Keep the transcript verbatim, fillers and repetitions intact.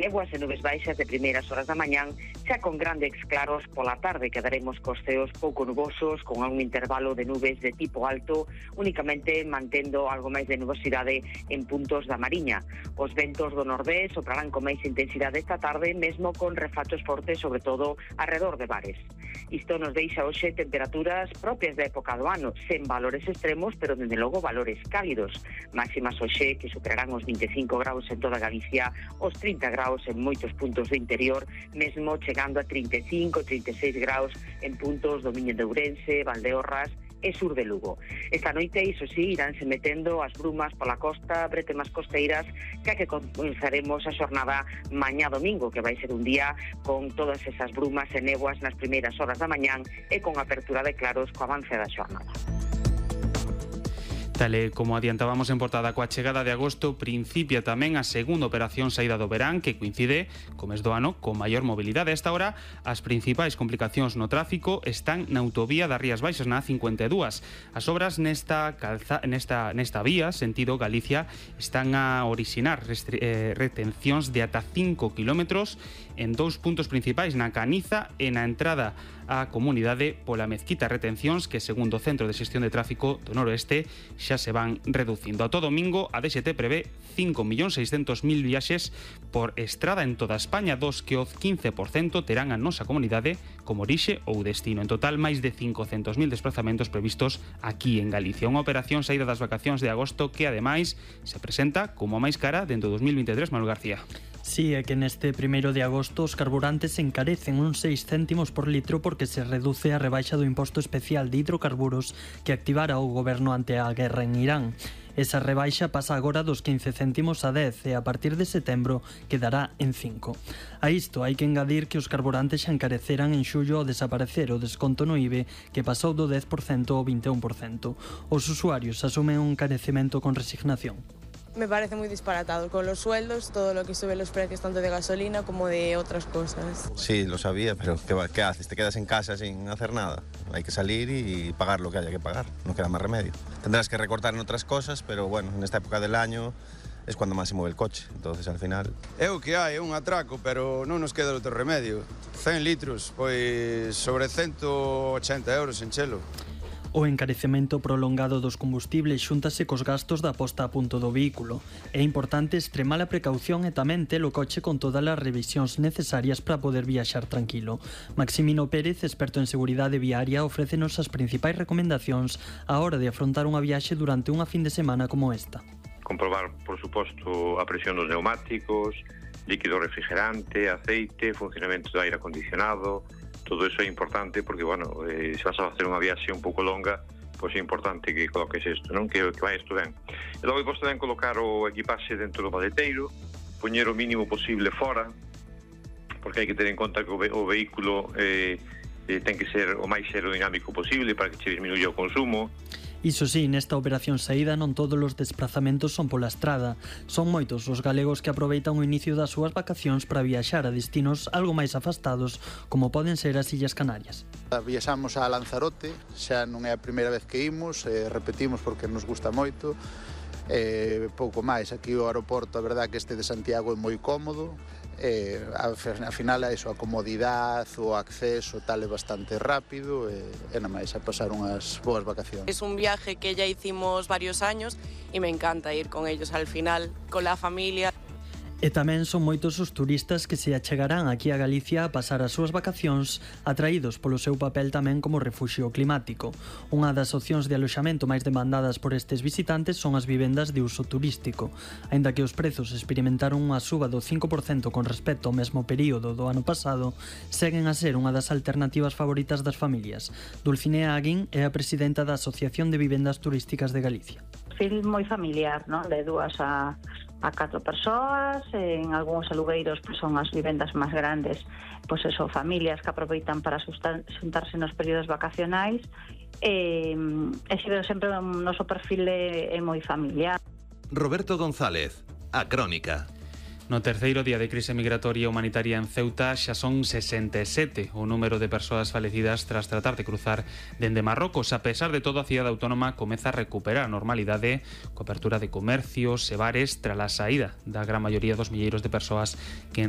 Néboas e nubes baixas de primeiras horas da mañán, xa con grandes claros pola tarde. Quedaremos cos ceos pouco nubosos, con algún intervalo de nubes de tipo alto, únicamente mantendo algo máis de nubosidade en puntos da Mariña. Os ventos do nordés soprarán con máis intensidade esta tarde, mesmo con refachos fortes, sobre todo alrededor de bares. Isto nos deixa hoxe temperaturas propias da época do ano, sen valores extremos, pero dende logo valores cálidos. Máximas hoxe que superarán os vinte e cinco graus en toda Galicia, os trinta graus en moitos puntos do interior, mesmo chegando a trinta e cinco, trinta e seis graus en puntos do Miño de Ourense, Valdeorras e sur de Lugo. Esta noite, iso sí, iránse metendo as brumas pola costa, bretemas costeiras, que que comenzaremos a xornada mañá domingo, que vai ser un día con todas esas brumas e néboas nas primeiras horas da mañán e con apertura de claros co avance da xornada. Tal e como adiantábamos en portada, coa chegada de agosto principia tamén a segunda operación saída do verán, que coincide co mes do ano con maior mobilidade. A esta hora, as principais complicacións no tráfico están na autovía das Rías Baixas, na A cincuenta e dúas. As obras nesta, calza, nesta, nesta vía, sentido Galicia, están a orixinar restri, eh, retencións de ata cinco kilómetros en dous puntos principais, na Caniza e na entrada á comunidade pola Mezquita. Retencións que, segundo o Centro de Xestión de Tráfico do Noroeste, xa se van reducindo. A todo domingo, a D X T prevé cinco millóns seiscentos mil viaxes por estrada en toda España, dos que o quince por cento terán a nosa comunidade como orixe ou destino. En total, máis de cincocentos mil desplazamentos previstos aquí en Galicia. Unha operación saída das vacacións de agosto que, ademais, se presenta como a máis cara dentro do dos mil vinte e tres, Manuel García. Sí, é que neste primeiro de agosto os carburantes encarecen uns seis céntimos por litro porque se reduce a rebaixa do imposto especial de hidrocarburos que activara o goberno ante a guerra en Irán. Esa rebaixa pasa agora dos quince céntimos a dez e a partir de setembro quedará en cinco. A isto hai que engadir que os carburantes xa encareceran en xullo ao desaparecer o desconto no I B E, que pasou do dez por cento ao vinte e un por cento. Os usuarios asumen un encarecemento con resignación. Me parece muy disparatado. Con los sueldos, todo lo que sube los precios tanto de gasolina como de otras cosas. Sí, lo sabía, pero ¿qué, qué haces? ¿Te quedas en casa sin hacer nada? Hay que salir y pagar lo que haya que pagar. No queda más remedio. Tendrás que recortar en otras cosas, pero bueno, en esta época del año es cuando más se mueve el coche. Entonces, al final... É o que hai, é un atraco, pero non nos queda outro remedio. cen litros, pois sobre ciento ochenta euros en chelo. O encarecemento prolongado dos combustibles xúntase cos gastos da posta a punto do vehículo. É importante extremar a precaución e tamén ter o coche con todas as revisións necesarias para poder viaxar tranquilo. Maximino Pérez, experto en seguridade viaria, ofrécenos as principais recomendacións á hora de afrontar unha viaxe durante unha fin de semana como esta. Comprobar, por suposto, a presión dos neumáticos, líquido refrigerante, aceite, funcionamento do aire acondicionado. Todo eso é importante porque, bueno, eh, se vas a facer unha viaxe un pouco longa, pois é importante que coloques isto, non? Que, que vai isto ben. E logo podes tamén colocar o equipaxe dentro do maleteiro, poñer o mínimo posible fora, porque hai que ter en conta que o, ve o vehículo eh, eh, ten que ser o máis aerodinámico posible para que che disminuya o consumo. Iso sí, nesta operación saída non todos os desplazamentos son pola estrada. Son moitos os galegos que aproveitan o inicio das súas vacacións para viaxar a destinos algo máis afastados, como poden ser as Illas Canarias. Viaxamos a Lanzarote, xa non é a primeira vez que imos, eh, repetimos porque nos gusta moito. Eh, pouco máis, aquí o aeroporto, a verdad que este de Santiago é moi cómodo. Eh, a, a final a eso, a comodidade, o acceso tal é bastante rápido e, e nada máis a pasar unhas boas vacacións. Es un viaje que ya hicimos varios años y me encanta ir con ellos al final, con la familia. E tamén son moitos os turistas que se achegarán aquí a Galicia a pasar as súas vacacións atraídos polo seu papel tamén como refuxio climático. Unha das opcións de aloxamento máis demandadas por estes visitantes son as vivendas de uso turístico. Aínda que os prezos experimentaron unha suba do cinco por cento con respecto ao mesmo período do ano pasado, seguen a ser unha das alternativas favoritas das familias. Dulcinea Aguín é a presidenta da Asociación de Vivendas Turísticas de Galicia. Perfil moi familiar, non? De dúas a a catro persoas, en algúns alugueiros pues, son as vivendas máis grandes, pois pues eso, familias que aproveitan para xuntarse nos períodos vacacionais e, e sempre o noso perfil é, é moi familiar. Roberto González, A Crónica. No terceiro día de crise migratoria humanitaria en Ceuta xa son sesenta e sete o número de persoas falecidas tras tratar de cruzar dende Marrocos. A pesar de todo, a cidade autónoma comeza a recuperar a normalidade coa apertura de comercios e bares tras a saída da gran maioría dos milleiros de persoas que